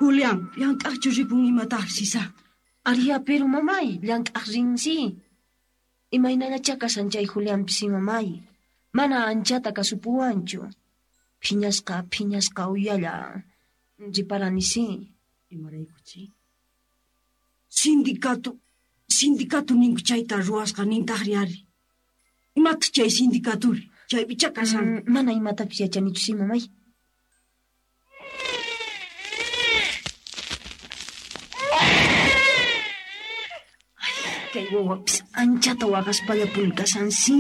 Julián, llank'aqchu ripun imataq, Sisa? Aria, pero mamay, llank'aq rinsi. Imaynallachá kashan chay Julianpis, mamay. Mana anchata kasupuwanchu. Phiñasqa, phiñasqa uyalla. Riparani si. Imaraykuchi? Sindicato, sindicato ninku chayta ruwasqa nintaqri ari. Imataq chay sindicaturi? Chaypichá kashan. Mana imatapis yachanichu si, mamay. Kay wawapis anchata waqaspallapuni kashan si.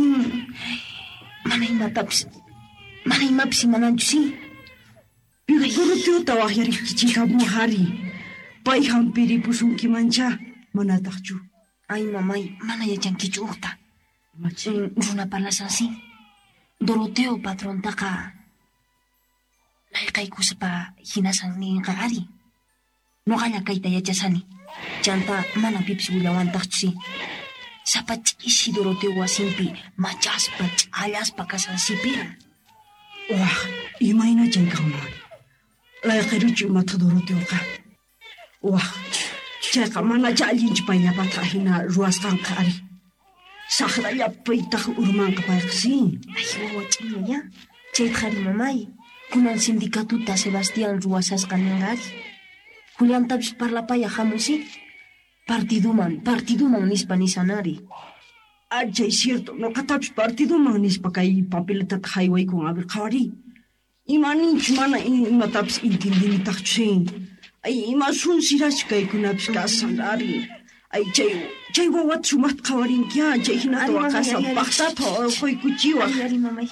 Mana imatapis, mana imapis imananchu si. Pero Doroteota waqyarikichikamuwaj ari. Pay hampiripusunkimanchá, manataqchu. Ay, mamay, mana yachankichu uqta. Imachi? Runa parlashan si. Doroteo patrontaqa layqaykuspa hinasan ninqa ari. Noqalla kayta yachasani. Chanta mana pipis willawantaqchu si. Sapa ch'isi Doroteo wasinpi machaspa ch'allaspa kashan sipira. Waj, imayna chay kanman? Layqiruchu imata Doroteoqa? Waj, chayqa manachá allinchu payllapata hina ruwasqanqa ari. Saqrallapitaq urmanqa payqa sí. Ay, wawa ch'inlla ya. Chaytaq ari mamay. Kunan sindicatuta Sebastián ruwasasqa ninqa ari. Juliantapis parlapaya hamun sí. Partiduman, partiduman nispa nishan ari. Ah, chay cierto, noqatapis partiduman nispa kay papeletata haywaykun, a ver, qhawariy. Ima ninchu mana imatapis intindinitaqchu sí. Ay, ima sunsirachu kaykunapis kashan ari. Ay, chay, chay wawata sumaqta qhawarinki, ah, chay hinata Ari, mamay, waqashan ari, ari. paqtata urquykuchiwaq. Ari, ari, mamay.